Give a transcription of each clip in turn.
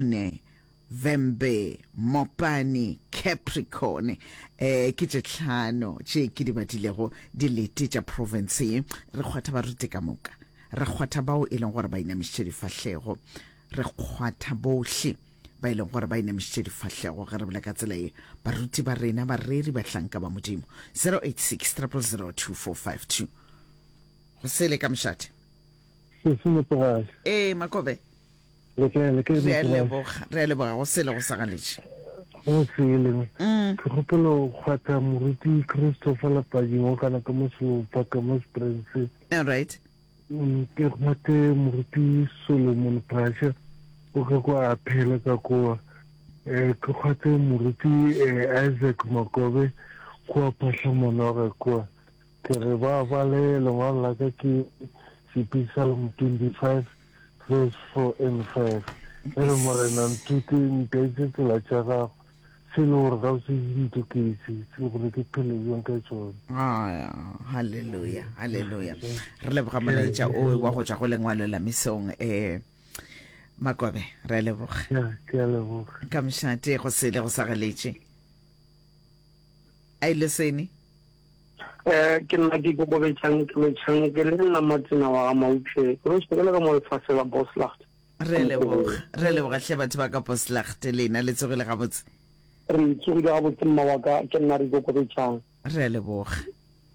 Ne, Vhembe, Mopani, Capricorn, eh, ke tše tlhano tše ke di badilego dilete tša profense ye. Re kgwatha baruti ka moka. Re kgwatha bao e leng gore ba inamišitše difahlego. Re kgwatha bohle ba e leng gore ba inamišitše difahlego ge re bolela ka tsela ye. Baruti ba rena, bareri, bahlanka ba Modimo. 086 000 2452. Go sele ka mošate. Se se nepagale. Ee, Makobe. Le kae, le kae? Re a leboga, re a leboga go sele go sa galetše. Go sele. Mm. Ke gopela go kgwatha moruti Christopher Lapadi wa kana ka mo Selopa ka mo Springs. All right. Mm, ke kgwathe moruti Solomon Phasha o ka kwa a phela ka kwa. Eh, ke kgwathe moruti eh, Isaac Makobe kwa Phahlamonoge kwa. Ke re ba bale lengwalo la ka ke Psalm 25 verse 4 and 5. E re Morena nthute ntaetše tsela tša gago, se le gore ga o se di ntoketše, se gore ke phele bjang ka tšona. Ah, haleluya, haleluya. Re leboga molaetša o wa go tšwa go lengwalo la mesong eh Makobe, re a leboga. Ya, ke a leboga. Ka mošate go sele go sa galetše. A ile sene? Eh, ke nna ke ikokobetšang ke lotšhang ke le nna Matsena wa ga Maupše ke rošitše ke le ka mo lefase la Boslacht. Re leboga, re leboga hle batho ba ka Boslacht lena le tsogile gabotse. Re tsogile gabotse mma wa ka, ke nna re ikokobetšang. Re leboga.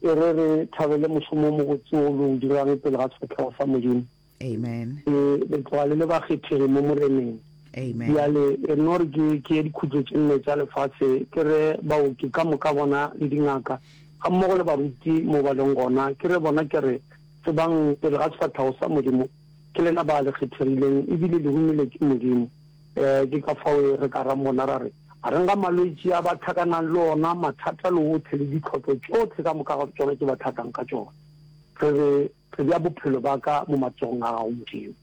E re re thabele mošomo o mobotse o lo o dirang pele ga sefahlego sa Modimo. Amen. Le, le tloga le le bakgethegi mo Moreneng. Amen. Bjale, e no re ke, ke ye dikhutlo tše nne tša lefase, ke re baoki ka moka bona le dingaka, gammogo le baruti mo ba leng gona, ke re bona ke re, Tsebang, pele ga sefahlego sa Modimo, ke lena ba le kgethegileng, ebile le romilwe ke Modimo. E, ke ka fao e re ka rang bona ra re, Gareng ga malwetši a ba tlhakanang le ona, mathata le ohle le ditlhotlo tšohle ka moka ga tšona tše ba tlhakang ka tšona, re re, Re bea bophelo ba ka mo matsogong a Gago, Modimo.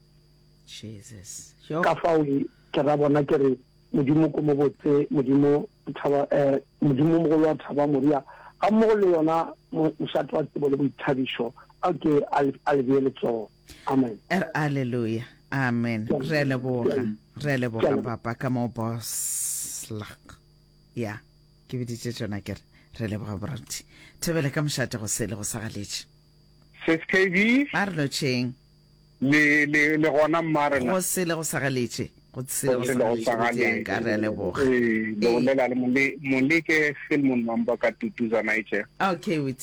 Jesus. Yo. Ka fao ke ra bona ke re, Modimo ko mobotse, Modimo thaba, eh, Modimo mogolo wa thaba Moria, ga mmogo le yona mošate wa tsebo le boithabišo, a ke a le, a le bee letsogo. Amen. Er, Alleluia. Amen. Re a leboga. Re a leboga, Papa, ka mo boslak. Ya, ke biditše tšona ke re, re leboga boranti. Thobela ka mošate go sele go sa galetše. Sis KB. A re lotšheng. Le, le, le gona mma rena. Go sele go sa galetše. Go sele go sa galetše. Ka re a leboga. Ee, le bolela le mole, Moleke Filmon Mamba ka Tutuza Niger. Okay, wit.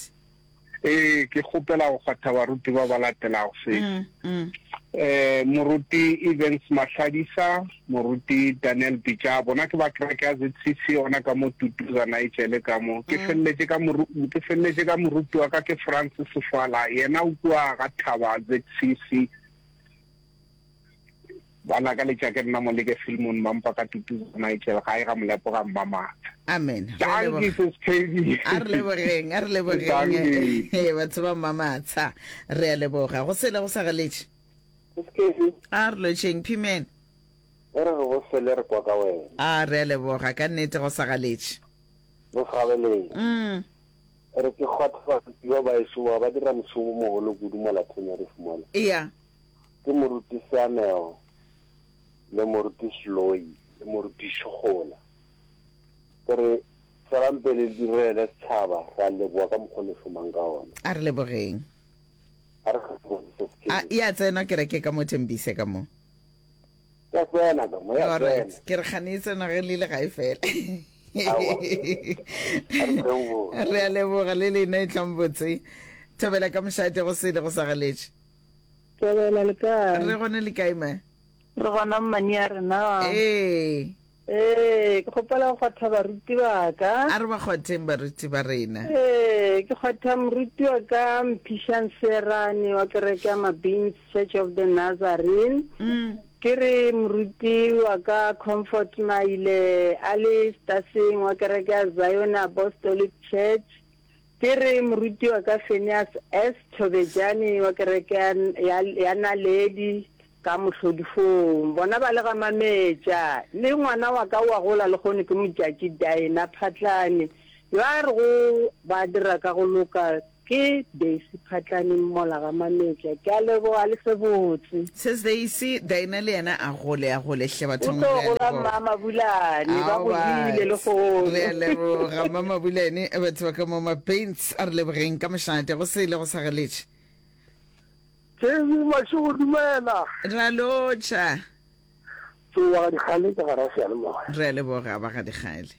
Ee, ke kgopela go kgwatha baruti ba ba latelago se. Mm, mm. Eh, moruti Evans Mahladisa, moruti Daniel Pitša, bona ke ba kereke ya ZCC ona ka mo Tutuza Nigel ka mo. Ke mm. feleletše ka moru, ke feleletše ka moruti wa ka ke Francis Sefala, yena o kua ga Thaba ZCC. Ba lakaletša ke nna Moleke Filmon Mampa ka Tutuza Nigel gae ga Molepo ga Mmamatha. Amen. Re a Dankie leboga. sis KB. A re lebogeng, a re lebogeng. Dankie. Ee, batho ba Mmamatha. Re a leboga. Go sele go sa galetše. Sis KB. A re lotšheng, Phimen. E re re go sele re kwa ka wena. A re a leboga, ka nnete go sa galetše. Go sa galetše. Mm. E re ke kgwatha baruti ba baeso ba ba dira mošomo o mogolo kudu mola Thonyarif mola. Eya. Ke Moruti Seamego le Moruti Seloi le Moruti Šogola. Ke re tšwelang pele le direle setšhaba, re a leboga ka mokgwa o le šomang ka ona. A re lebogeng. A re kgethegeng se se A e a tsena kereke ka mo Thembise ka mo? Ya tsena ka mo, ya All right. tsena. Ke re kgane e tsena ge le ile ga e fela. Aowa. A re tleng botse. Re a leboga le lena e tlang botse. Thobela ka mošate go sele go sa galetše. Thobela le kae? Re gone le kae ma? Re gona mmane ya rena. Ee. Ee, ke kgopela go kgwatha baruti ba ka. A re ba kgwatheng baruti ba rena. Ee, ke kgwatha moruti wa ka Mphišang Seerane wa kereke ya Mabins Church of the Nazarene. Mm. Ke re moruti wa ka Comfort Maile a le Staseng wa kereke ya Zion Apostolic Church. Ke re moruti wa ka Phineas S. Thobejane wa kereke ya, ya, ya Naledi ka Mohlodifong. Bona ba le ga Mametša. Le ngwana wa ka o a gola lehono ke Motšatši Dinah Phatlane, yo a rego ba dira ka go loka. Ke Daisy Phatlane Mmola ga Mametša. Ke a leboga le se botse. Sis Daisy, Daina le yena a gole a gole hle O bathong tlo re a gola leboga. Mma Mabulane, ba Ao godile batho, lehono. re a leboga Mma Mabulane, batho ba ka mo Mapaints a re lebogeng ka mošate go sele go sa geletše. Jay-Z Mašego dumela. Ra lotšha. Tsowa ga dikgale ka gara seyalemoya. Re a leboga ba ga dikgale.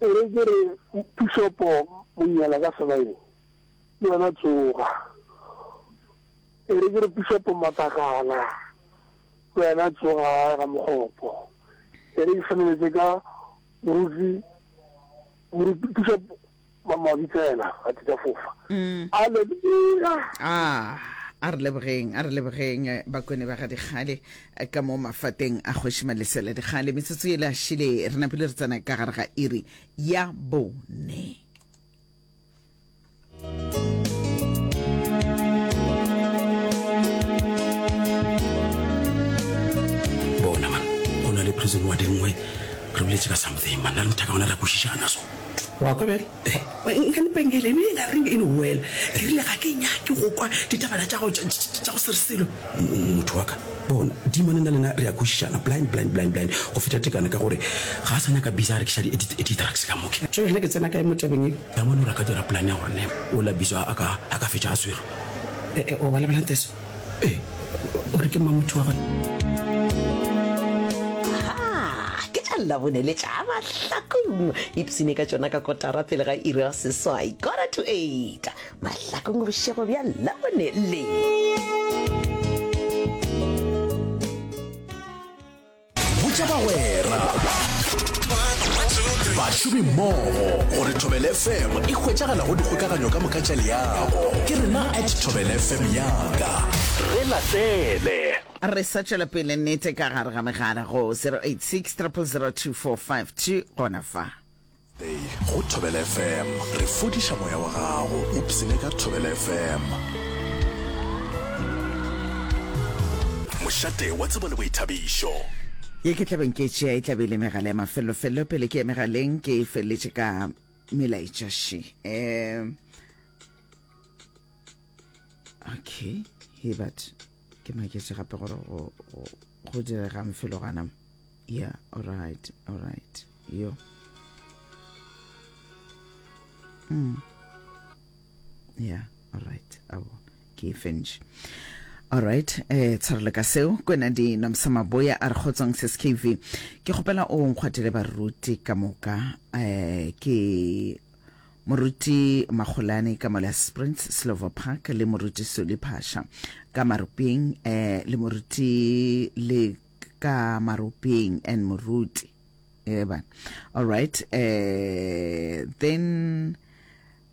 E re ke re Pišopo Monyela ka Sebaeng le wena tsoga. E re ke re Pišopo Matakala le wena tsoga gae ga Mokgopo. E re ke feleletše ka Moruti Moruti Pišopo Mabitsela ga tša fofa. Aleluya! Ah, a re lebogeng, a re lebogeng eh, bakone ba ga Dikgale eh, ka mo mafateng a Kgoši Malesela Dikgale. Metsotso ele a šile, re napile re tsena ka gare ga iri ya bone. Bona man, go na le prison ward e nngwe re boletše ka something man, nna le mothaka gona re a kwešišana so. Wa kwa bjale? Nkane pengele e bile reng e no wela. Ke rile ga ke nyake go kwa ditabana tša gago tša go se re selo. Motho wa ka, bona, Demon nna le nna re a kwešišana, blind, blind, blind, blind, go feta tekano ka gore ga a sa nyaka bisa a rekiša di-drugs ka moke. Jwale nna ke tsena kae mo tabeng ye? Damon o re a ka dira plan ya gore ne ola bisa a ka, a ka fetša a swerwe. E-e, o ba lebelang Teso? Ee. O re ke mang motho wa gona? Ha, ke tša Labone le tša Mahlakong. Ipsine ka tšona ka kotara pele ga iri ya seswai, quarter to eight. Mahlakong bošego bja Labone le. Botša bagwera, bašomimmogo gore Thobela FM e hwetšagala go dikgokaganyo ka moka tša leago. Ke rena at Thobela FM yaka. Re latele. Re sa tšwela pele nnete ka gare ga megala go 086 000 2452 gona fa. Day go Thobela FM. Re fodiša moya wa gago. Ipsene ka Thobela FM. Mošate wa tsebo le boithabišo. Ye ke tlabeng ke tšea e tlabe e le megala ya mafellofello pele ke ye megaleng ke e feleletše ka melaetša še um okay he but ke maketše gape gore go diregang felo gana yeah alright alright yo mm. yeah alright abo ke e fentše alright eh tshwarelo ka seo kwena di nomsa maboya a re kgotsong ses kv ke kgopela o nkgwatele baruti ka moka eh ke moruti magolane ka mola sprints slover park le moruti soli phasha ka maruping eh le moruti le ka maropeng and moruti eba all right eh then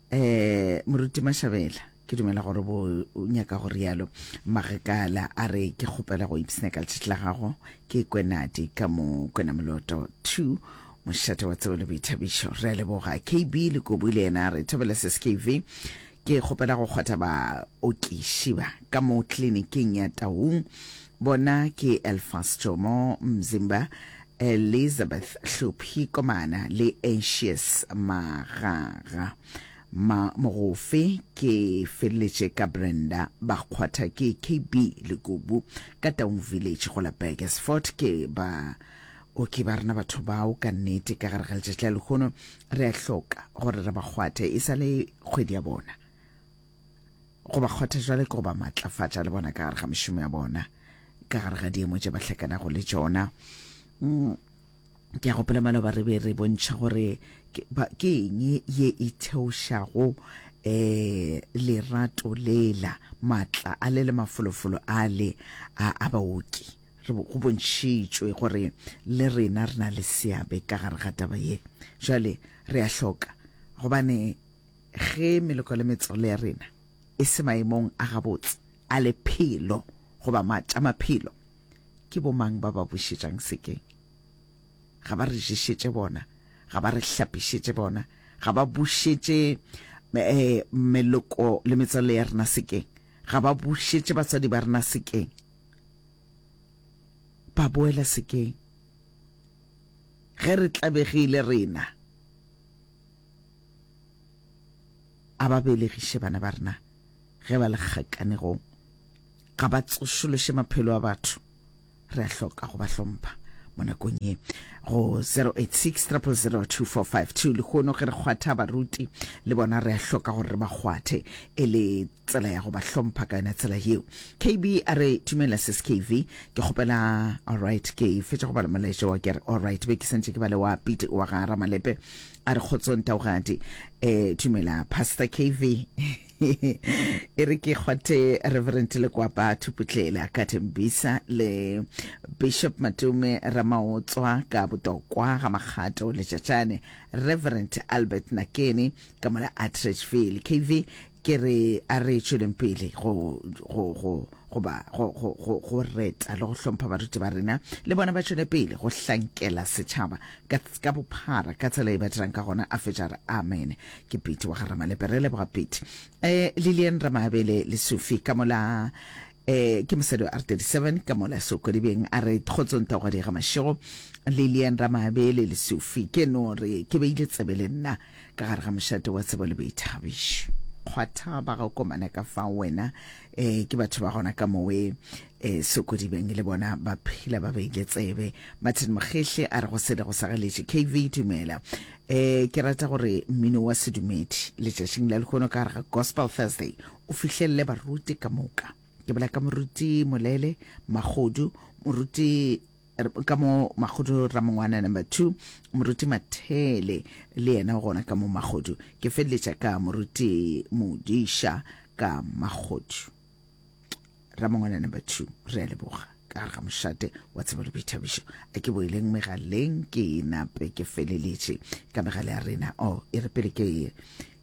eh moruti mashabela ke dumela gore bo nyaka go rialo magekala a re ke kgopela go ipsina ka letšatši la gago ke kwenadi ka mo kwena moloto 2 mošate wa tsebo le boithabišo re a leboga kb le kobu le yena re thobela seskv Ke kgopela go kgwatha baokiši ba ka mo kliniking ya Taung. Bona ke Elfas Jomo Mzimba, Elizabeth Hlophi Komana le Anxious Magaga. Ma Mogofe ke feleletše ka Brenda ba kgwatha ke KB Lekubu ka Taung Village go la Burgersfort. Ke baoki ba rena batho bao ka nnete ka gare ga letšatši la lehono Re a hloka gore re ba kgwathe e sa le kgwedi ya bona. Go ba kgwatha jwale ke go ba matlafatša le bona ka gare ga mešomo ya bona, ka gare ga diemo tše ba hlakanago le tšona. Mm, ke a gopola maloba re be re bontšha gore ke eng ye e theošago eh lerato lela matla a le le mafolofolo a le a a baoki Re go bontšhitšwe gore le rena re na le seabe ka gare ga taba ye. Jwale re a hloka gobane ge meloko le metswalo ya rena e se maemong a gabotse a lephelo goba ma tša maphelo, ke bomang ba ba bušetšang sekeng? Ga ba re ješetše bona, ga ba re hlapišetše bona, ga ba bušetše eh, meloko le metswalo ya rena sekeng, ga ba bušetše batswadi ba rena sekeng. Ba boela sekeng. Ge re tlabegile rena. A ba belegiše bana ba rena ge ba le kgakanegong. Ga ba tsošološe maphelo a batho. Re a hloka go ba hlompha mo nakong ye. Go 086 000 2452 lehono ge re kgwatha baruti le bona re a hloka gore re ba kgwathe e le tsela ya go ba hlompha ka yona tsela yeo. KB a re dumela sis KV ke kgopela alright ke fetša go bala molaetša wa ke re alright be ke santše ke bale wa Pete wa ga Ramalepe a re kgotsong taugadi eh dumela pastor KV e re ke kgwathe Reverend Lekwapa Thuputlela ka Tembisa le Bishop Matume Ramaotswa ka Botokwa ga Makgato Letšatšane Reverend Albert Nakene ka mola Atteridgeville KV Ke re a re tšweleng pele go, go, go, go ba, go, go, go, go reta le go hlompha baruti ba rena, le bona ba tšwele pele go hlankela setšhaba ka, ka bophara ka tsela e ba dirang ka gona. A fetša a re, Amen. Ke Pete wa ga Ramalepe. Re leboga Pete. Eh, Lilian Ramabele Lesufi ka mola, eh, ke mosadi wa R37 ka mola Sokodibeng, a re, Kgotsong Taugadi ga Mašego. Lilian Ramabele Lesufi, ke no re ke beile tsebe le nna. Ka gare ga mošate wa tsebo le boithabišo. Kgwatha ba ga komana ka fao wena eh, ke batho ba gona ka mowe eh, Sokodibeng le bona ba phela ba beile tsebe. Martin Mogehle a re go sele go sagaletše. KV dumela. Eh, ke rata gore mmino wa sedumedi letšatšing la lehono ka gare ga Gospel Thursday o fihlelele baruti ka moka. Ke bolela ka moruti Molele Magodu, moruti ka mo Magodu Ramongwana number 2, moruti Mathele le yena o gona ka mo Magodu. Ke feleletša ka moruti Modiša ka Magodu Ramongwana number 2. Re a leboga ka gare ga mošate wa tsebo le boithabišo. A ke boeleng megaleng ke nape ke feleletše ka megala ya rena. Oh, e re pele ke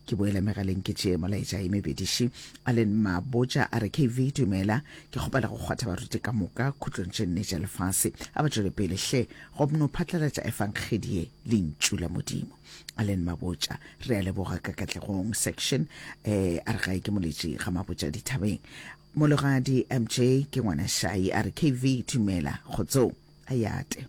Ke boela megaleng ke tšee molaetša e mebediši. Allen Mabotja a re, KV, dumela. Ke kgopela go kgwatha baruti ka moka khutlong tše nne tša lefase. A ba tšwele pele hle go no phatlalatša efangedi ye, Lentšu la Modimo. Allen Mabotja, re a leboga ka Katlegong section. Eh, a re gae ke moletši ga Mabotja dithabeng. Mologadi MJ ke ngwana Shai a re, KV, dumela. Kgotsong. A yate.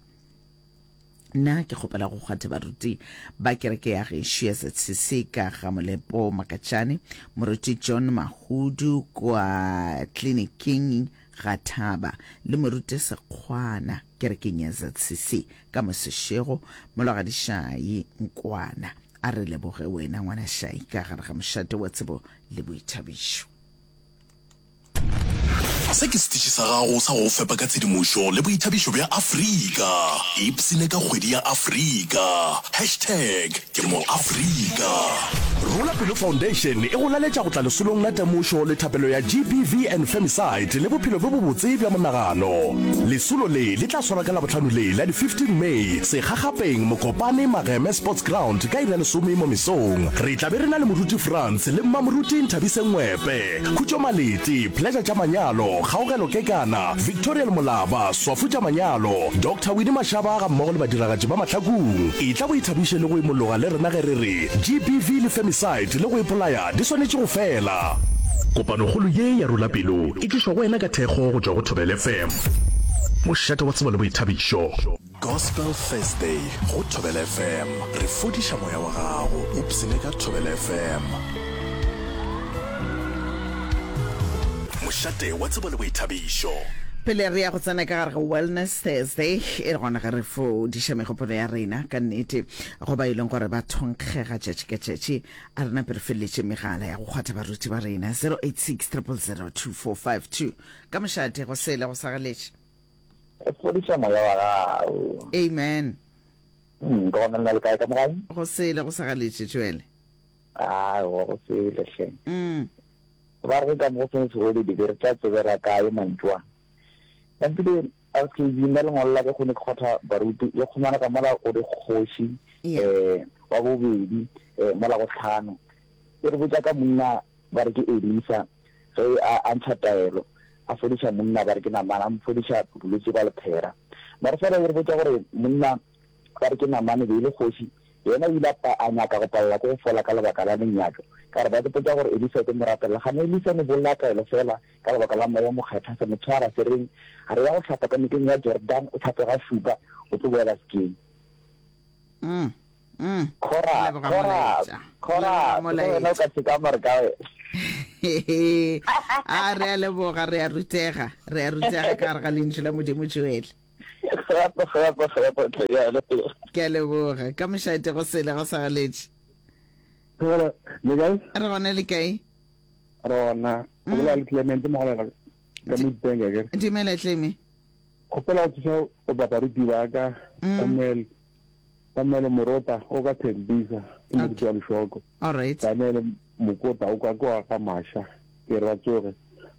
Nna ke kgopela go kgwatha baruti ba kereke ya gešo ya ZCC ka ga Molepo Makatšane, Moruti John Mahudu kwa tleliniking ga Thaba le Moruti Sekgwana kerekeng ya ZCC ka Mosešego, Mologadi Shai Nkwana. A re leboge wena ngwana Shai ka gare ga mošate wa tsebo le boithabišo. Se ke setiši sa gago sa go go fepa ka tshedimošo le boithabišo bja Afrika. Ipshine ka kgwedi ya Afrika. Hashtag ke mo Afrika. Rola Pelo Foundation e go laletša go tla lesolong la temošo le thapelo ya GBV and Femicide le bophelo bjo bobotse bja monagano. Lesolo le le tla swarwa ka Labohlano le la di 15 May, Sekgakgapeng, Mokopane, Mageme Sports Ground ka iri ya lesome mo mesong. Re tla be re na le Moruti Frans le Mmamoruti Nthabiseng Ngwepe. Khutšo Malete, Pleasure tša Manyalo, Kgaogelo Kekana, Victorial Molaba, Swafu tša Manyalo, Doctor Winnie Mashaba gammogo le badiragatši ba Mahlakung. Etla o ithabiše le go imologa le rena ge re re GBV le femicide le go ipolaya di swanetše go fela. Kopanokgolo ye ya Rula Pelo e tlišwa go wena ka thekgo go tšwa go Thobela FM, mošate wa tsebo le boithabišo. Gospel Thursday go Thobela FM. Re fodiša moya wa gago. Ipshine ka Thobela FM. Mošate wa tsebo le boithabišo. Pele re ya go tsena ka gare ga Wellness Thursday, e le gona ge re fodiša megopolo ya rena ka nnete go ba e leng gore ba thonkgega tšatši ka tšatši. A re nape re feleletše megala ya go kgwatha baruti ba rena 086 000 2452 ka mošate go sele go sagaletše. Go fodiša moya wa gago. Amen. Mm, ke gona lena le kae ka mo gae? Go sele go sa galetše Joel. Aowa go sele hle. Mm. Ba re ka mo go seng segodi di be re tla tsebela kae mantšu a. Nampile RKB nna lengwalo la ka kgone ke kgotha baruti le kgomana ka mola o dikgoši eh wa bobedi eh mola go tlhano. E re botša ka monna ba re ke Elisa, ge a, a ntšha taelo, a fodiša monna, ba re ke Namane, a mo fodiša bolwetši bja lephera. Mara fela e re botša gore monna, ba re ke Namane, be e le kgoši, yena o ile a pa, a nyaka go palela ke go fola ka lebaka la lenyatšo. Ka gore ba re botša gore Elisa o tlo mo rapelela. Gane Elisa ne bolela taelo fela ka lebaka la Moya o Mokgethwa, se mo tshwara, se reng, A re ya go hlapa ka nokeng ya Jordane, o hlape ga šupa, o tlo boela sekeng. Mm. Mm. Khora, Leboga khora, molaetša. khora, Leboga wena o molaetša. ka se ka mare ka wena. A re a leboga, re a rutega, re a rutega ka gare ga lentšu la Modimo Joel. Gape, gape, gape, tle, ya leboga. Ke a leboga. Ka mošate go sele go sa galetše. Thobela, le kae? Re gona le kae? Re gona. O bolela le Clement Mogolela ka Midbank akere. Dumela Cleme. Kgopela go thuša go baruti ba ka Samuel Samuel Morota o ka Thembisa ke moruti wa Lešoko. All right. Daniel Mokota o ka kwa ga Masha ke re ba tsoge.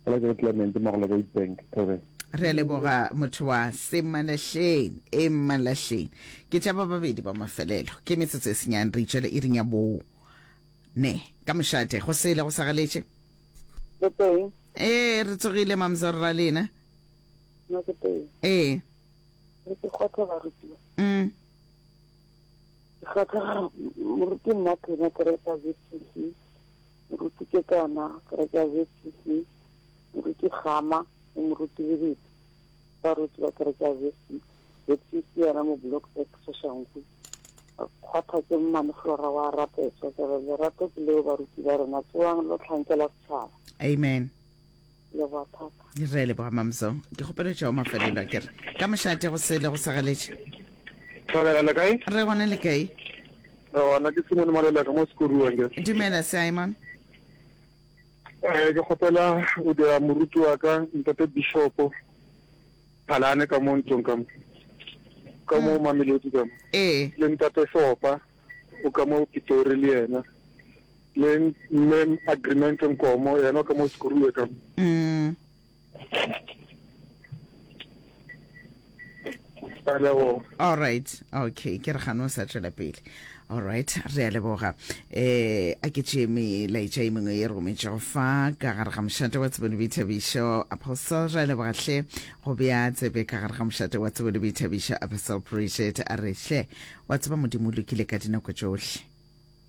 Gola ke Clement Mogolela ka Midbank. Thobela. Re a leboga motho wa Semalahleng e Mmalahleng. Ke tša ba babedi ba mafelelo. Ke metsotso e senyane re itšwele iring ya bo ne. Ka mošate go sele go sa galetše. Le teng? Ee, re tsogile mamzor ra lena. Nna ke teng. Ee. Re ke kgotha barutiwa. Mm. Ke kgotha moruti nna Phenya kereke ya ZCC, moruti Kekana kereke ya ZCC, moruti Gama le moruti Lebete baruti ba kereke ya ZCC, ZCC yona mo Block X Soshanguve. Kgotha ke mmane Flora wa rapetswa ke re lerato ke leo baruti ba rena tsoang lo hlankela setšhaba. Amen. Leboga thata. Re leboga Mamzo. Ke kgopelo tšeo mafelelo a kere. Ka mošate go sele go sagaletše. Thobela le kae? Re gona le kae? Re gona ke Simon Maleleka mo Sekoruang ke. Dumela Simon. Eh ke kgopela o dira moruti wa ka ntate Bishop Phalane ka mo ntlong ka mo. Ka mo Mamelodi ka mo. Ee. Le ntate Sopa o ka mo Pitori le yena. Le mme Agreement Nkomo yena o ka mo Sekoruwe ka mo. Mm. Ka leboga. All right. Okay, ke re gano sa tšwela pele. All right, re a leboga. Eh, a ke tšee melaetša e mengwe e rometšego fa ka gare ga mošate wa tsebo le boithabišo. Apostle, re a leboga hle go bea tsebe ka gare ga mošate wa tsebo le boithabišo. Apostle Bridget a re hle, wa tseba Modimo o lokile ka dinako tšohle.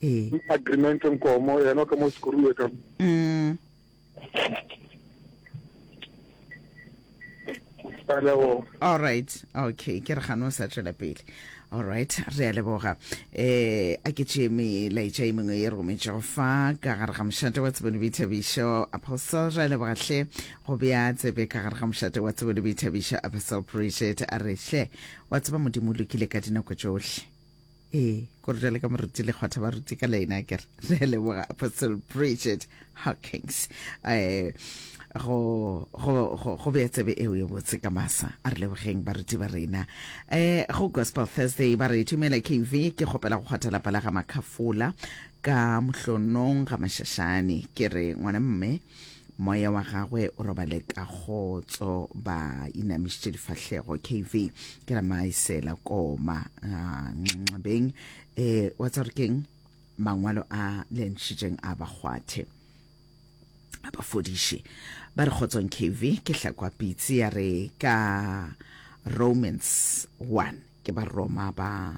Ee. Agreement Nkomo yena o ka mo Sekoruwe ka mo. Mm. Ka leboga. All right. Okay, ke re gano sa tšwela pele. All right, re a leboga. Eh, a ke tšee melaetša e mengwe e rometšego fa ka gare ga mošate wa tsebo le boithabišo. Apostle, re a leboga hle go bea tsebe ka gare ga mošate wa tsebo le boithabišo. Apostle Bridget a re hle, wa tseba Modimo o lokile ka dinako tšohle. Ee, ko re jale ka moruti le kgwatha baruti ka leina ke re re a leboga Apostle Bridget Hawkins eh go go go go bea tsebe eo ye botse ka masa a re lebogeng baruti ba rena eh go Gospel Thursday ba re thumela KV ke kgopela go kgwatha lapa la ga Makhafola ka mohlonong ga Mashashane ke re ngwana mme Moya wa gagwe o robale ka kgotso, ba inamišitše difahlego. KV, ke ra maisela koma nxabeng. E, wa tseba gore keng? Mangwalo a le ntšhitšeng a ba kgwathe, a ba fodiše. Ba re kgotsong KV, ke hlakwa pitsi ya re ka Romans 1, ke ba Roma ba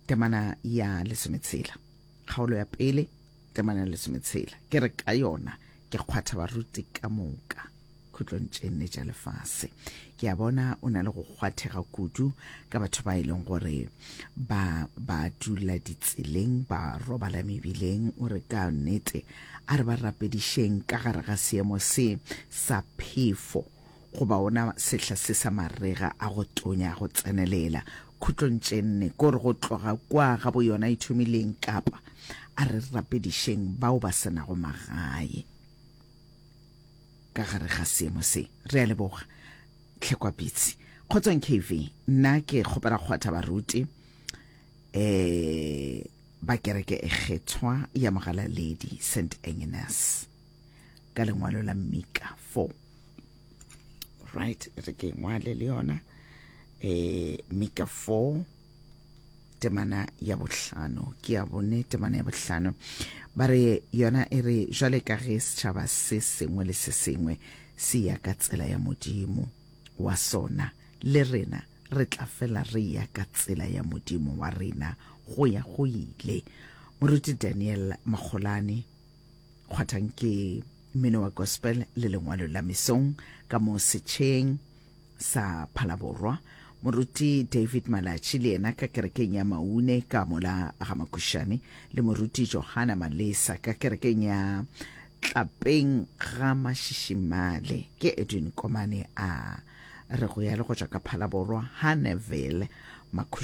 temana ya lesometshela, kgaolo ya pele. Temana ya lesometshela, ke re ka yona ke kgwatha baruti ka moka khutlong tše nne tša lefase. Ke a bona o na le go kgwathega kudu ka batho ba e leng gore ba ba dula ditseleng, ba robala mebileng. O re ka nnete a re ba rapedišeng ka gare ga seemo se sa phefo goba ona sehla se sa marega a go tonya a go tsenelela khutlong tše nne, ko re go tloga kwa ga bo yona e thomileng kapa a re rapedišeng bao ba se nago magae ka gare ga seemo se. Re a leboga. Tlhekwa Pitsi. Kgotsong KV, nna ke kgopela kgwatha baruti eh ba kereke e kgethwa ya Mogalaledi St Agnes ka lengwalo la Mika 4. Right, re ke ngwale le yona eh Mika 4 temana ya bohlano ke ya bone temana ya bohlano ba re yona e re jwale ka ge setšhaba se sengwe le se sengwe se ya ka tsela ya modimo wa sona le rena re tla fela re ya ka tsela ya modimo wa rena go ya go ile moruti daniel makgolane kgwathang ke mmino wa gospel le lengwalo la mesong ka mo setšheng sa Phalaborwa. Moruti David Malatši le yena ka kerekeng ya Maune ka mola ga Makušane, le Moruti Johana Malesa ka kerekeng ya Tlapeng ga Mašišimale. Ke Edwin Komane a re go ya le go tšwa ka Phalaborwa, Haneville, Makhušane.